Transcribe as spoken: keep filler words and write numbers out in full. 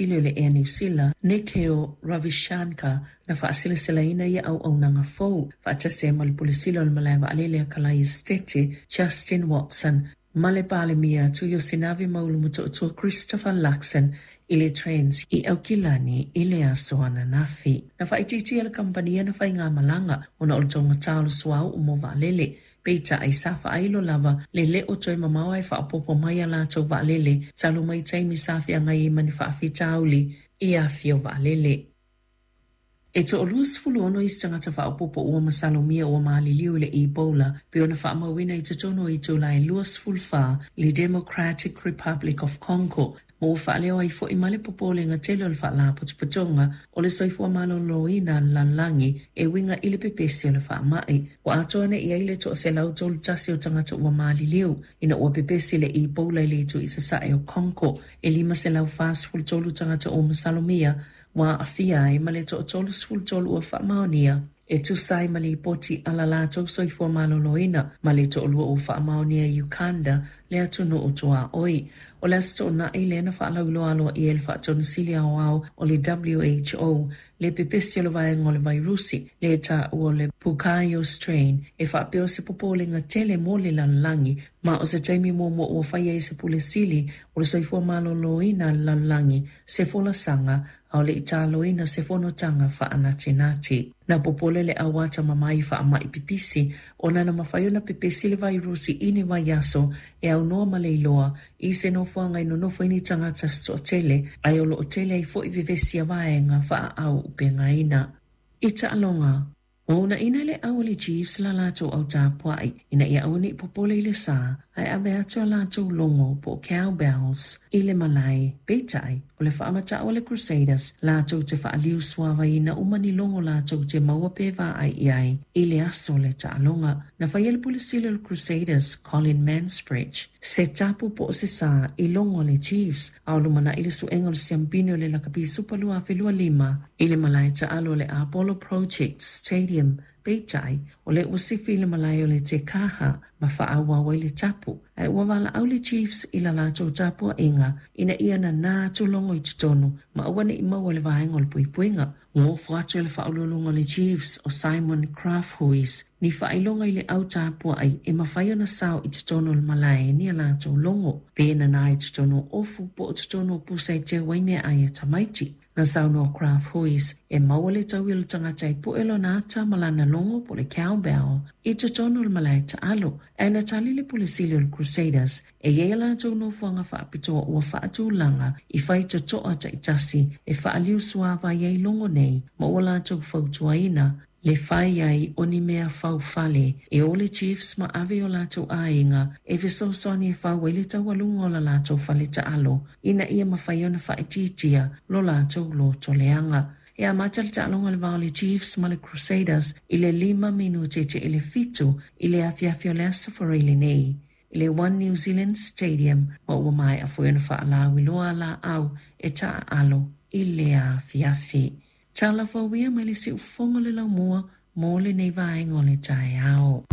Sili o le Ea Niu Sila, Nikhil Ravishankar, na fa'asilaselaina ia auaunaga fou faatasi ai ma le Pule Sili o le Malae Vaalele a Kalaia Setete Justin Watson ma le Palemia Tuiosinavi Maulu Motootua Christopher Luxon i le Trends i Aukilani i le aso ananafi. Na faaitiitia le kamupani na faigamalaga ona o le taugata o le suauu mo vaalele. Peitai sa faailo lava le lē o toe mamao ae faaopoopo mai a latou vaalele talu mai taimi sa feagai ai ma ni faafitauli i afio vaalele. E toaluasefulu ono isi tagata faaopoopo ua masalomia ua maliliu i le Ebola pei ona faamauina i totonu o itula e luasefulu fa i le Democratic Republic of Congo, ma ua faaleo ai foi ma le popolega tele o le Faalapotopotoga o le Soifua Maloloina a le Lalolagi e uiga i le pepesi o le faamai. Ua atoa nei i ai le toaselau tolu tasi o tagata ua maliliu ina ua pepesi le Ebola i le itu i sasae o Congo. E lima selau fasefulu tolu tagata ua masalomia ua aafia ai ma le toatolusefulu tolu ua faamaonia e tusa ai ma lipoti a la latou soifua maloloina, ma le toalua ua faamaonia i Uganda, le atunuu tuaoi. O le Aso Toonai lea na faalauiloa aloaia e le Faatonusili Aoao o le W H O le pepesi o le vaega o le vairusi le taua o le Bukio strain e faapea o se popolega tele mo le lalolagi, ma o se taimi muamua ua faia ai se pule sili o le soifua maloloina a le lalolagi se folasaga a o le italoina se fonotaga faanatinati. Na popole le auata mamai faamai pipisi ona na mafai ona pepesi le vairusi i ni vaiaso e aunoa ma le iloa i se nofoaga i nonofo ai ni tagata se toatele, ae o loo tele ai foi vevesi a vaega faaau upegaina. I taaloga, ua uunaina le au o le Chiefs la latou au tapuai ina ia aua nei popole i le sa ae ave atu a latou logo po o cowbells i le malae. Peitai, o le faamata'u a le Crusaders latou te faaliu suavaina uma ni logo latou te maua pe vaai i ai i le aso o le taaloga. Na faia le pule sili o le Crusaders, Colin Mansbridge, se tapu po o se sa i logo a le Chiefs a o lumana'i le suega o le siampini o le Lakapi Supa lua afe lua lima i le malae taalo o le Apollo Project Stadium. Peitai, o le ua sifi i le malae o le Te Kaha ma faaauau ai le tapu, ae ua valaau le Chiefs i la latou tapuaʻiga ina ia nanā atu logo i totonu ma aua neʻi maua le vaega o le puipuiga. Gofo atu e le faauluuluga o le Chiefs o Simon Crafthuis ni faailoga i le au tapuaʻi e mafai ona sao i totonu o le malae ni a latou logo, pe nanā i totonu o ofu po o totonu o pusa e teu ai meaai a tamaiti. Na saunoa Crafthuis e maua le taui o le tagata e pu'e lona ata ma lana logo po o le cowbell i totonu o le malae taalo, ae na tali le pule sili o le Crusaders e iai a latou nofoaga faapitoa ua faatulaga i fai totoa taitasi e faaliu suavai ai logo nei ma ua latou fautuaina le fai ai o ni mea faufale e o le Chiefs ma ave o latou aiga e fesoasoani e fau ai le taualuga o la latou fale taalo ina ia mafai ona faaitiitia lo latou lotoleaga. E amata le taaloga le va o le Chiefs ma le Crusaders i le lima minute te i le fitu i le afiafi o le Aso Faraile lenei i le One New Zealand Stadium, ma ua maea foi ona faalauiloa laau e taaalo i le afiafi. Tala fauia mai le siufogo le laumua mo lenei vaega o le taeao.